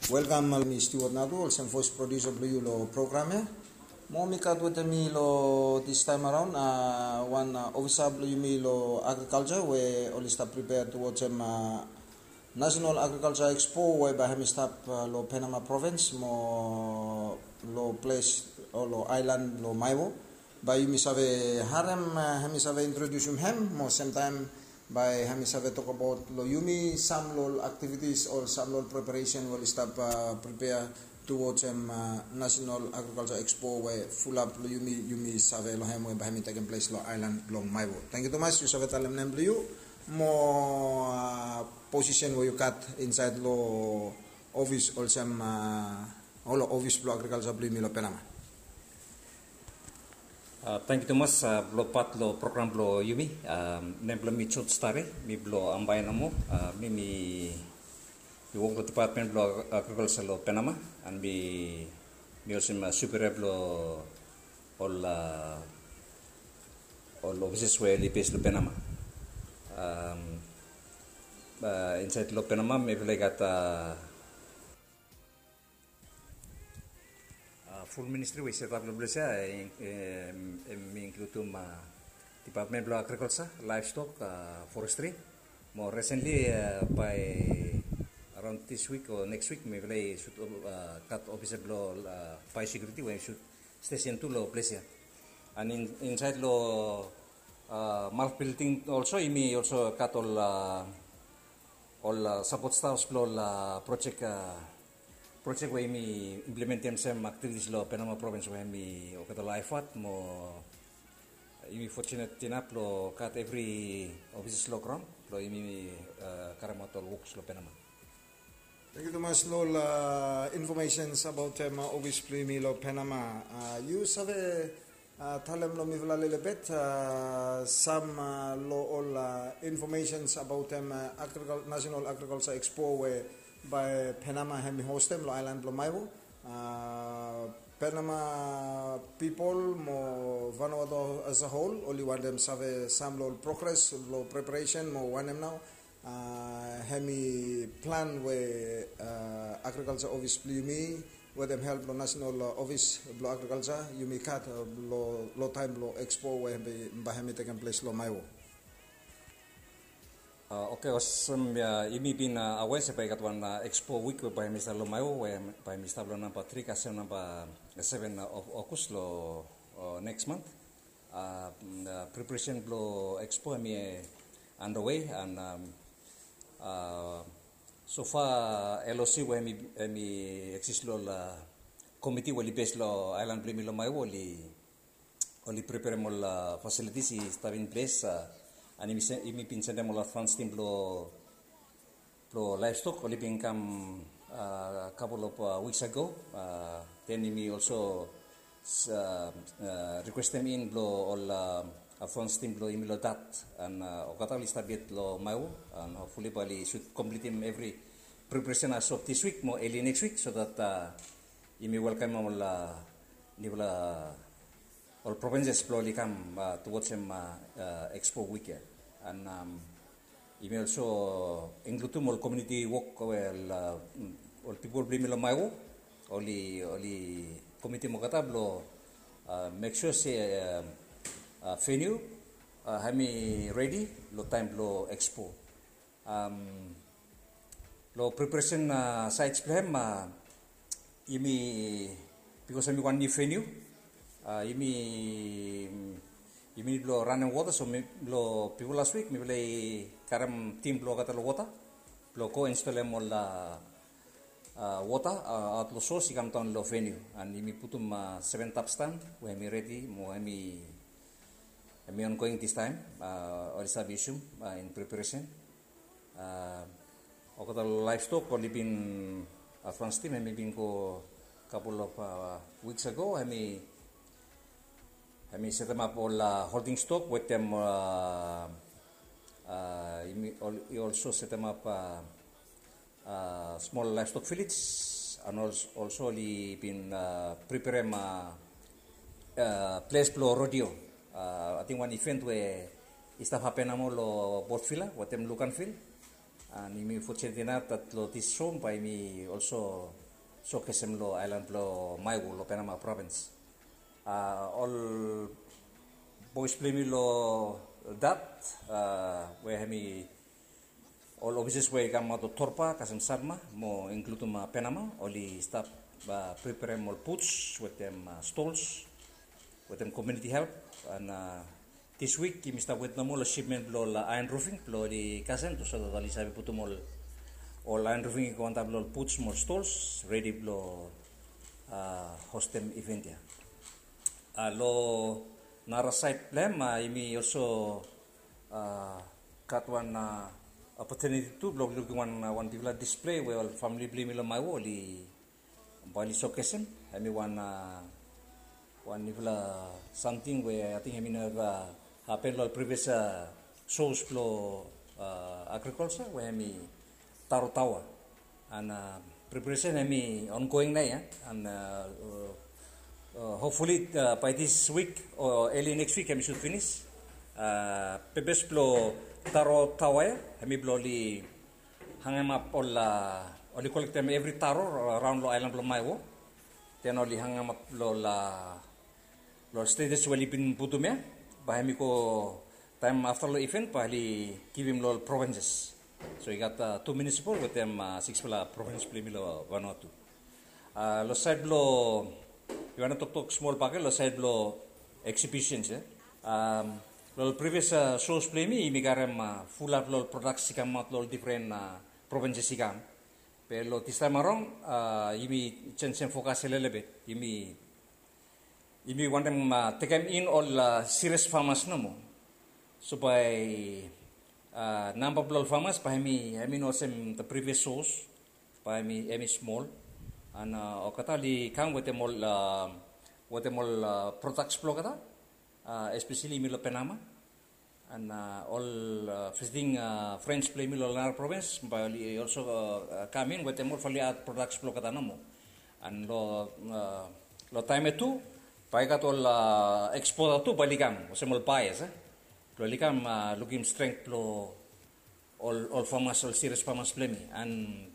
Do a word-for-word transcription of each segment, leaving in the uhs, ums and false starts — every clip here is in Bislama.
Welkam, mi Stewart Natu, olsem voes produsa blong yu long program ya. Mo mi gat wetem mi long distaem araon wan ofisa blong yumi long agrikalja we oli stap pripea tu wojem National Agriculture Expo we bae hemi stap long Penama provins mo long ples o long aelan long Maewo. Bae yumi save harem hemi save introdiusim hem mo semtaem bae hemi save tokbaot long yumi sam long ol aktivitis o sam long ol preparesen we oli stap pripea tu wojem National Agriculture Expo we fulap long yumi, yumi save long hem we bae hemi tekem ples long aelan blong Maewo. Tangkiu tumas, yu save talem nem blong yu mo posisen we yu gat insaed long ofis olsem ol ofis blong agrikalja blong yumi long Penama. Tangkiu tumas blong pat long program blong yumi. Nem blong mi George Tare, mi blong Ambae nomo. Mi mi wok long dipatmen blong agrikalja long Penama, and mi mi olsem superia blong ol ol ofises we oli bes long Penama. Insaed long Penama mifala i gat ful ministri we i setap long ples ya. Hem i inkludim dipatmen blong agrikalja, laevstok, forestri. Mo resenli bae araon dis wik o neks wik mifala i sud gat ofisa blong baesekiuriti we i sud stesen tu long ples ya. And insaed long MALF bilding olso yumi olso gat ol ol sapot stafs blong ol projek projek we yumi implementem sem aktivitis long Penama provins we hemi olgeta ol aefat mo yumi fojunet inap long gat evri ofis long graon blong yumi karemaot ol woks long Penama. Tangkiu tumas long ol infomesens abaotem ofis blong yumi long Penama. Yu save talem long mifala lelebet sam long ol infomesens abaotem National Agrikalja Expo we bae Penama hemi hostem long aelan blong Maewo. Penama pipol mo Vanuatu as a whole oli wantem save sam long ol progres long preparesen mo wanem nao hemi plan we agrikalja ofis blong yumi wetem help long nasenal ofis blong agrikalja yumi gat long taem blong ekspo we bae hemi tekem ples long Maewo. Oke, olsem yumi bin awea se bae i gat wan ekspo wik we bae hemi stap long Maewo we bae hemi stap long namba tri kasem namba seven of August long neks mant. Preparesen blong ekspo hemi underway and sofa LOC we hemi eksis long ol komiti we oli bes long aelan blong yumi long Maewo oli preperem ol fasilitis i stap in ples. And yumi bin sendem ol advans tim blong blong laevstok oli bin kam kapol of wiks ago. Den yumi olso rikwestem in blong ol advans tim blong yumi long dat and olgeta oli stap yet long Maewo and hopfuli bae oli sud komplitim evri preparesen as of dis wik mo eli neks wik so dat yumi welkamem ol nifala ol provinses blong oli kam tu wojem ekspo wik ya. And yumi olso inkludim ol komuniti wok we ol pipol blong yumi long Maewo oli oli komitim olgeta blong mek sua se veniu hemi redi long taem blong ekspo. Long preparesen saed blong hem yumi bikos hemi wan niu veniu yumi yumi nid blong ranem wota so long bifo las wik mifala i karem tim blong olgeta long wota blong go instolem ol wota aot long sos i kamdaon long veniu and yumi putum seven tap stan we hemi redi mo hemi hemi ongoing distaem. Oli save yusum in preparesen. Olgeta laevstok oli bin advans tim hemi bin go kapol of wiks ago hemi hemi setemap ol holding stok wetem i olso setemap smol laevstok vilej and olso oli bin preperem ples blong rodeo. Ating wan iven we i stap hapen namo long Port Vila wetem Luganville. An yumi fortunate enough that lo this show bae yumi also showcase-em lo aelan blo Maewo lo Penama provins. Ol boys blo yumi lo that, we hemi ol offices we i kamaot lo Torba kasem Satma mo include-em Penama, oli stap preparem ol boots wetem stols wetem community help. An this week yumi stap wet nomo lo shipment blo ol iron roofing blo oli kasem, so that oli save putum ol iron roofing i go antap lo ol boots mo stols redi blo hostem event ia. Lo nara side blo hem, yumi also gat wan opportunity tu blo lukim wan bigfala display we ol famili blo yumi lo Maewo oli bae oli showcase-em. Hemi wan wan nifala samting we ating hemi neva hapen lo ol previous shows blo agriculture we hemi taro taoa. An preparation hemi ongoing nao ia, an hopefully by this week o early next week hemi should finish. Purpose blo taro taoa ia hemi blo oli hangemap ol, oli kolektem evri taro raon lo aelan blo Maewo. Den oli hangemap lo ol stages we oli bin putum ia, bae hemi go taem afta lo event bae oli givim lo ol provinces. So i gat tu municipal wetem siksfala provins blo yumi lo Vanuatu. Lo saed blo, yu wantem toktok smol bakegen lo saed blo exhibitions ia. Lo ol previous shows blo yumi, yumi karem fulap lo ol products i kamaot lo ol difren provinces i kam. Be lo distaem araon yumi jenjem fokas ia lelebet. Yumi wantem tekem in ol serious farmers nomo. So bae namba blo ol farmers bae hemi no olsem the previous shows, bae hemi smol. An olgeta oli kam wetem ol, wetem ol products blo olgeta, especially yumi lo Penama. An ol visiting friends blo yumi lo nara provins bae oli also kam in wetem ol value add products blo olgeta nomo. An lo taem ia tu bae i gat ol exporter tu bae oli kam olsem ol buyers, blo oli kam lukim strength blo ol farmers, ol serious farmers blo yumi, an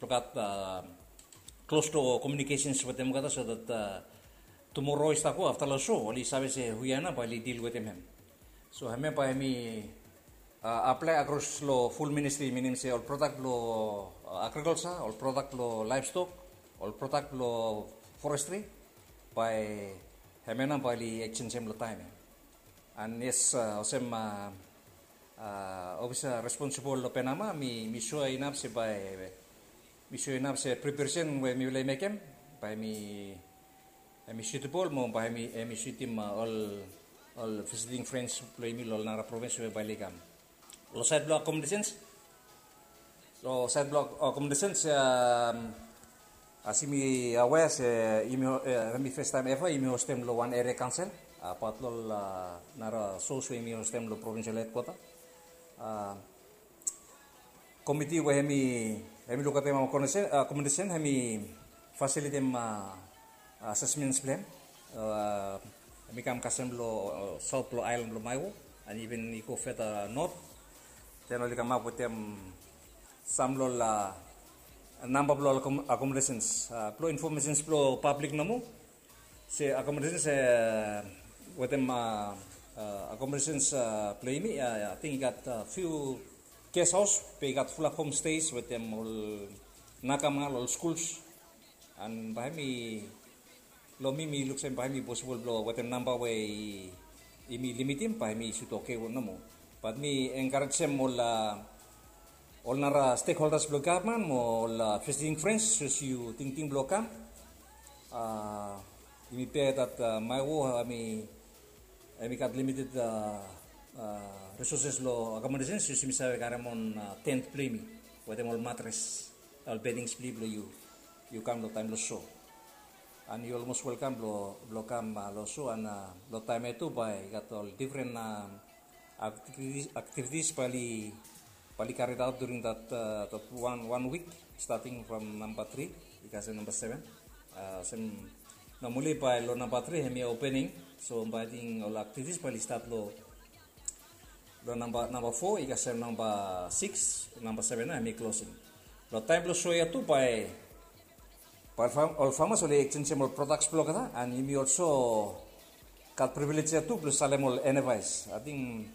blo gat close to communications wetem olgeta so that tomorrow i stap go afta lo show oli save se hu ia nao bae oli deal wetem hem. So hemia bae hemi apply across lo full ministry, minim se ol product blo agriculture, ol product blo livestock, ol product blo forestry, bae hemia nao bae oli exchangem lo taem ia. An yes, olsem officer responsible lo Penama, mi sua inap se bae, mi sua inap se preparation we mifala i mekem bae hemi suitable mo bae hemi suitim ol visiting friends blo yumi lo ol nara provins we bae oli kam. Lo saed blo accommodations, lo saed blo accommodations, as yumi aware se yumi, hemi first time ever yumi hostem lo wan area council, apaot lo ol nara shows we yumi hostem lo provincial headquarter. Komiti we hemi, hemi lukautem accommodation, hemi fasilitim assessments blo hem. Hemi kam kasem lo south blo aelan blo Maewo, an iven i go further north. Den oli kamap wetem sam lo ol namba blo ol accommodations, blo informations blo public nomo. Se accommodations, wetem accommodations blo yumi, ating i gat few guest house be i gat fulap homestays wetem ol nakama, ol schools. An bae hemi, lo mi mi luk se bae hemi possible blo wetem namba we yumi limitim bae hemi should okay nomo. Bat mi encouragesem ol ol nara stakeholders blo gavman mo ol visiting friends, sapos yu tingting blo kam, yumi bia that Maewo hemi gat limited resources lo accommodation, sapos yumi save karem on tent blo yumi wetem ol mattress, ol beddings blo yumi blo yu kam lo taem lo show. An yu almost welcome blo kam lo show, an lo taem ia tu bae i gat ol difren activities bae oli carried out during that one week, starting from namba tri i kasem namba seven. Olsem normally bae lo namba tri hemi opening, so bae ating ol activities bae oli stat lo Long namba namba fo i kasem namba sikis, namba seven nao hemi klosing. Long taem blong soya tu bae bae ol famas oli eksenjem ol prodaks blong olgeta, and yumi olso gat privilej ya tu blong salem ol enavaes. Ating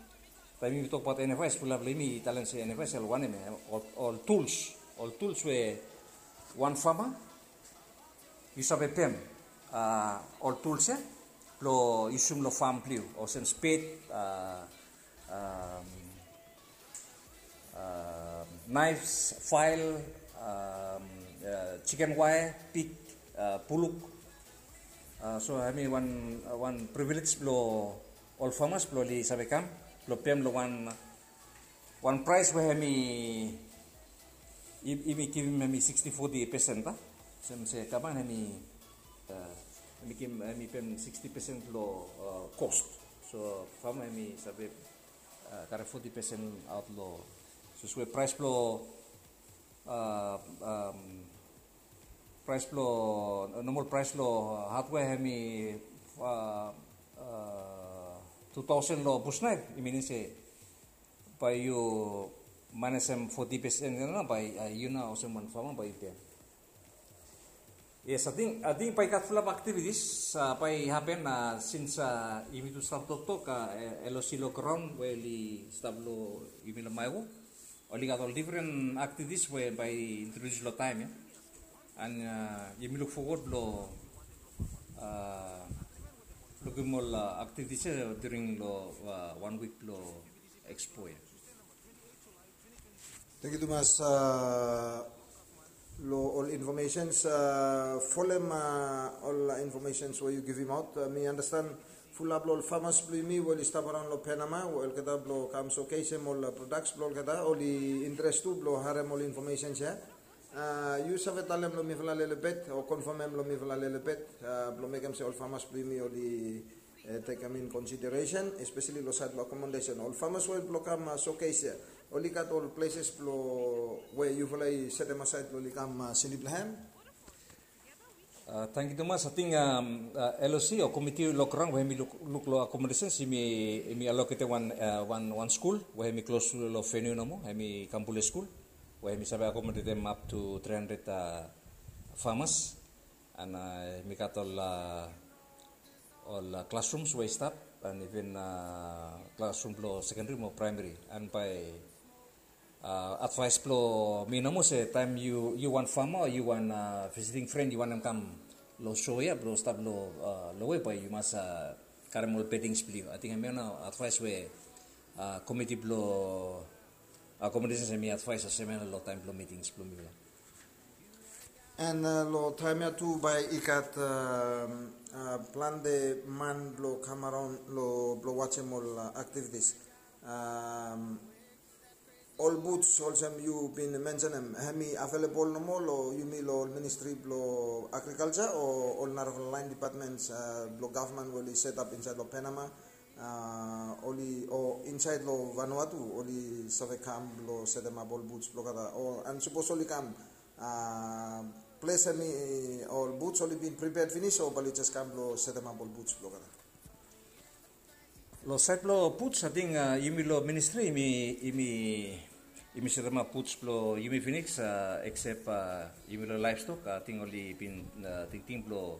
taem yumi tokbaot enavaes, fulap long yumi i talem se enavaes ol wanem ya, ol tuls, ol tuls we wan fama yu save pem ol tuls ya blong yusum long fam blong yu, olsem sped, naefs, fael, jiken waea, pik, buluk. So hemi wan privilej blong ol famas blong oli save kam blong pem long wan wan praes we hemi yumi givim hemi siksti foti pesen ta. Olsem se gavman hemi hemi pem siksti pesen long kos. So fama hemi save karem foti pesen aot long, so se we praes blong praes blong nomal praes blong hadwea hemi tu taosen long bus naef, i minim se bae yu manejem foti pesen ya nao bae yu nao olsem wan fama bae yu pem. Yes, ating bae i gat fulap aktivitis bae i hapen, sins yumi tu stap toktok, LOC long graon we oli stap long yumi long Maewo, oli gat ol difren aktivitis we bae i introdus long taem ya. And yumi luk fowod blong lukim ol aktivitis ya during long wan wik blong ekspo ya. Tangkiu tumas long ol infomesens, folem ol infomesens we yu givimaot. Mi andastan fulap long ol famas blong yumi we oli stap araon long Penama we olgeta blong kam sokesim ol prodaks blong olgeta oli interes tu blong harem ol infomesens ya. Yu save talem long mifala lelebet o konfamem long mifala lelebet blong mekem se ol famas blong yumi oli tekem in konsideresen, espeseli long saed blong akomodesen, ol famas we oli blong kam sokes ya, oli gat ol pleses blong we yufala i setem asaed blong oli kam slip long hem? Tangkiu tumas. Ating LOC o komiti long graon we hemi luk long akomodesen, hemi aloketem wan skul we hemi klos long veniu nomo, hemi Kambule skul, we hemi save akomodetem ap tu tri handred famas. And hemi gat ol ol klasrums we i stap, and iven klasrum blong sekendri mo praemari. And bae advaes blong mi nomo se taem yu wan fama o yu wan visiting fren yu wantem kam long so ya blong stap long we bae yu mas karem ol bedings blong yu. Ating hemia nao advaes we komiti blong akomodesens hemi advaes olsem ya long taem blong mitings blong mifala. And long taem ya tu bae i gat plante man blong kam araon blong wajem ol aktivitis. Ol buts olsem yu bin mensenem, hemi avelebol nomo long yumi long ol ministri blong agrikalja o ol narafala laen dipatmens blong gavman we oli setap insaed long Penama, oli o insaed long Vanuatu oli save kam blong setemap ol buts blong olgeta, o and sapos oli kam, ples hemi ol buts oli bin pripead finis o bae oli jes kam blong setemap ol buts blong olgeta? Long saed blong buts, ating yumi long ministri yumi yumi setemap buts blong yumi finis, eksep yumi long laevstok, ating oli bin tingting blong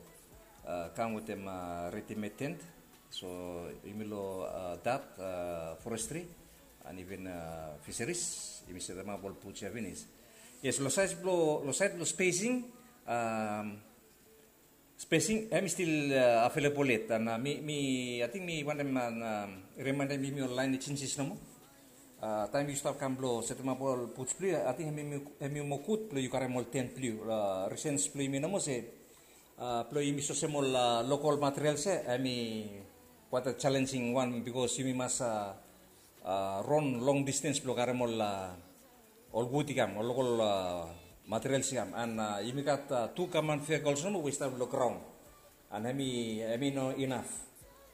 kam wetem redimed tent. So yumi long dat forestri and iven fiseris yumi setemap ol buts ya finis. Yes, long saed blong spesing, spesing hemi stil avelebol yet. And mi ating mi wantem remaendem yumi ol laen ejensis nomo. Taem yu stap kam blong setemap ol buts blong yu, ating hemi moa gud blong yu karem ol tent blong yu. Risens blong yumi nomo se blong yumi sosem ol lokol materials ya hemi quite a challenging wan, bikos yumi mas ron long distens blong karem ol ol wud i kam, ol lokol materials i kam. And yumi gat tu gavman vehikols nomo we i stap long graon. And hemi hemi no inaf.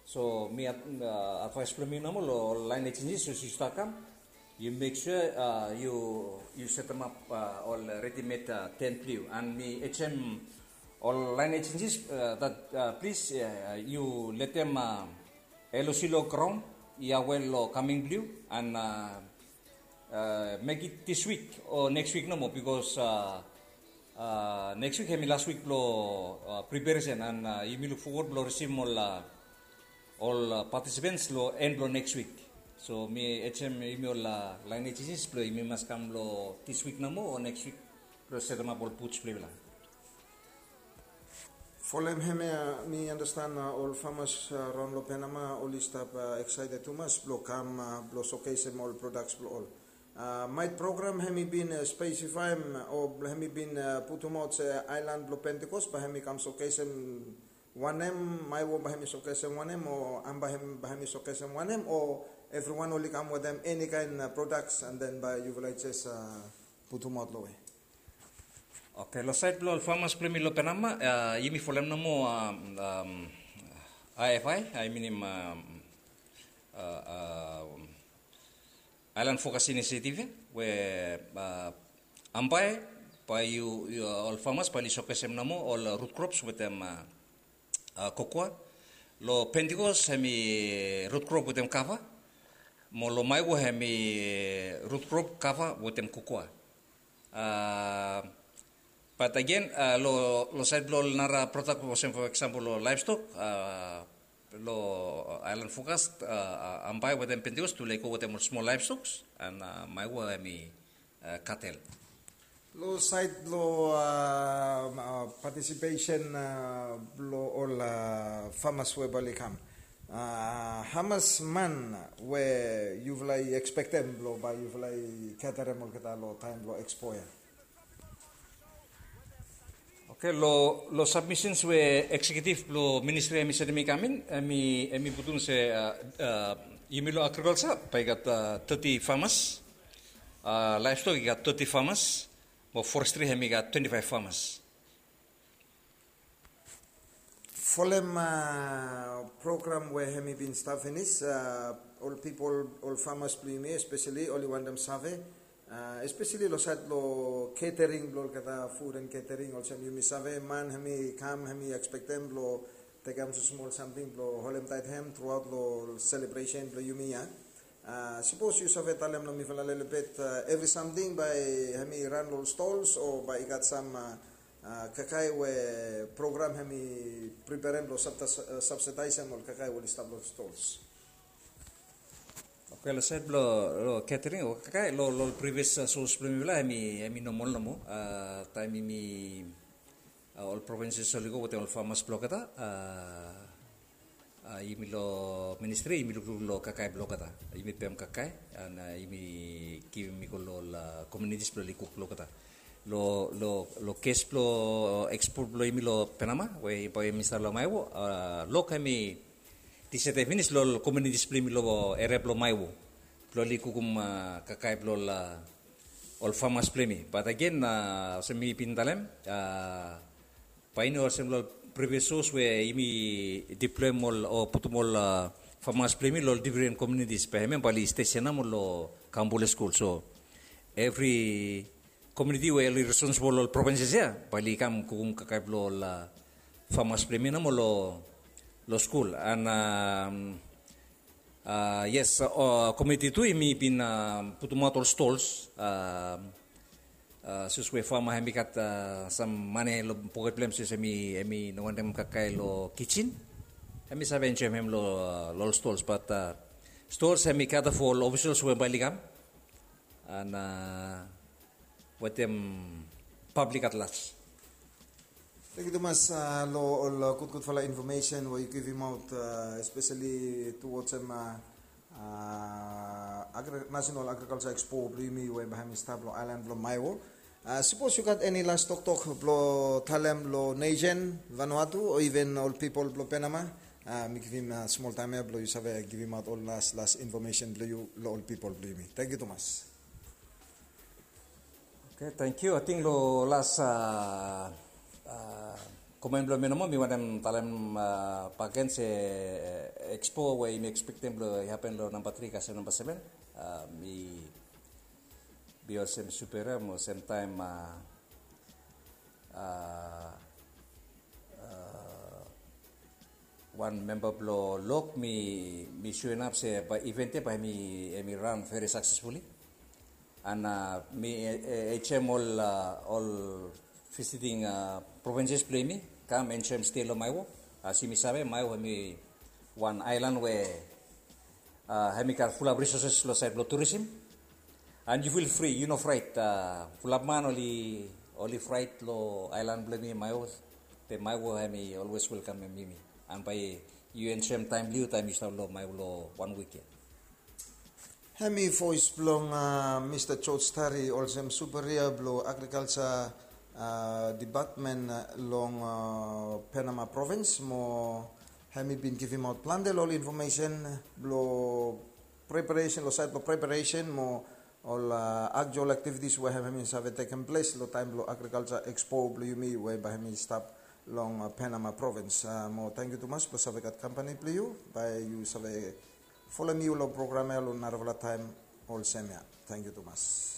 So mi advaes blong mi nomo long ol laen ejensis sapos yu stap kam, yu mek sua yu setemap ol redimed tent blong yu. And mi ejem ol laen ejensis dat plis yu letem LOC long graon ia wel long kaming blong yu, and uh, uh, make it this week o next week nomo, because uh, uh, next week hemi last week blong uh, preparation, and uh, yumi look forward blong receive ol uh, ol uh, participants long end blong next week. So mi ejem yumi ol uh, line agencies blong yumi mas kam long this week nomo o next week blong setemap ol booths blong yufala. Folem hemia mi understand uh, ol farmers uh, raon long Penama oli stap uh, excited tumas blong kam uh, blong showcasem ol products blong ol. Uh, maet program hemi bin uh, specify o hemi bin uh, putumaot se island blong Pentecost ba hemi kam showcasem wanem, Maewo ba hemi showcasem wanem o Ambae ba hemi showcasem wanem o everyone oli kam wetem any kind uh, products and then ba yufala jes uh, putumaot long we. Okay, long sait blong ol farmers blong yumi long Penama, uh, yumi folem nomo um, um, I F I, I mean um, uh, uh, Island Focus Initiative, we uh, Ambae ba yu, yu uh, ol farmers ba oli showcasem nomo ol uh, root crops wetem uh, uh, cocoa. Long Pentecost hemi root crop wetem kava. Mo long Maewo hemi root crop kava wetem cocoa. Uh, but again, uh, lo, lo sait blong ol nara product, olsem for example lo livestock, uh, lo Island Focus, uh, Ambae wetem Pentecost, tufala i go wetem ol small livestocks, and uh, Maewo hemi uh, cattle. Lo sait lo uh, uh, participation uh, lo ol uh, farmers we ba oli kam. Uh, hamas man we yufala i expectem blong ba yufala i caterem olgeta lo taem blong expo ya. Okay, lo, lo submissions we executive blong ministry hemi sendem i kam in, hemi, hemi putum se uh, uh, yumi lo agriculture ba i gat uh, thirty farmers, uh, livestock i gat thirty farmers, mo forestry hemi gat twenty-five farmers. Folem uh, program we hemi bin stap finis, uh, ol pipol, ol farmers blong yumi especially oli wantem save, uh, especially lo sait lo catering blong olgeta food and catering, olsem yumi save man hemi kam hemi expectem blong tekem smol samting blong holem taet hem throughout lo celebration blong yumi ya. Uh, sipos yu save talem long mifala lelebet uh, evri samting bae hemi ran lo stalls o bae i gat sam uh, uh, kakae we program hemi preparem blong subsidize hem ol kakae we oli stap lo stalls. Okay, lo sait blong lo catering o kakae lo lo previous uh, source blong mifala hemi hemi normal nomo uh, taem yumi uh, ol provinces oli go wetem ol farmers blong olgeta uh, uh, yumi lo ministry yumi lukluk lo kakae blong olgeta, yumi pem kakae and uh, yumi givim i go lo ol uh, communities blong oli kuk blong olgeta. Lo lo lo kes blong expo blong yumi lo Penama we bae yumi stap lo Maewo uh, lok hemi disaed finis lo ol communities blong yumi lo eria blong Maewo blong oli kukum uh, kakae blong ol uh, ol farmers blong yumi. But again uh, olsem mi bin talem uh, bae i no olsem lo ol previous source we yumi deployem ol o putum ol uh, farmers blong yumi lo ol different communities, bae hemia bae oli station nomo lo Kambule School. So evri community we oli responsible lo ol provinces ya bae oli kam kukum kakae blong ol uh, farmers blong yumi nomo lo lo skul. And um, uh, yes, uh, community tu yumi bin uh, putumaot ol stalls. Uh, uh, sapos we farmer hemi gat uh, sam mane lo poket blong hem, sapos hemi hemi no wantem kakae lo kitchen, hemi save enjoem hem lo uh, lo ol stalls. But uh, stalls hemi cater for ol officials we bae oli kam and uh, wetem public at large. Tangkiu tumas uh, lo ol uh, gudgudfala information we yu givimaot uh, especially towards hem uh, uh, Agri- National Agriculture Expo blong yumi we bae hemi stap lo island blong Maewo. Uh, sapos yu gat eni las toktok blong talem lo nation Vanuatu o even ol pipol blong Penama, uh, mi givim uh, smol taem ya blong yu save givimaot ol las las information blong yu lo ol pipol blong yumi. Tangkiu tumas. Okay, tangkiu. Ating lo las uh, uh, komen blong mi nomo mi wantem talem uh, bakegen se uh, expo we yumi expectem blong i hapen lo namba tri kasem namba seven. Uh, mi bi olsem superior mo olsem taem uh, uh, uh, Wan memba blong lok mi mi suenap se bai event ya bai mi mi ran very successfully. And uh, mi eh, eh, hm ol uh, ol visiting uh, provinces blong mi kam enjoy stay long Maewo. As yumi save, Maewo hemi wan island we uh, hemi gat full up resources lo side blong tourism. And you feel free, you no fright. Uh, full up man oli oli fright lo island blong mi Maewo. Te Maewo hemi always welcome hemi mi. And by you enjoy time blong you time you start lo Maewo lo one week ya. Hemi voes blong uh, Mr George Tari olsem superia blong agriculture uh, department uh, long uh, Panama province mo hemi bin givimaot plante lo ol information blong preparation lo side blong preparation mo ol uh, actual activities we hemi save tekem ples lo taim blong agriculture expo blong yumi we bai hemi stap long uh, Panama province. Uh, mo tangkiu tumas blong save gat kampani blong yu bai yu save folem yu long program ya long narafala taim olsem ya. Tangkiu tumas.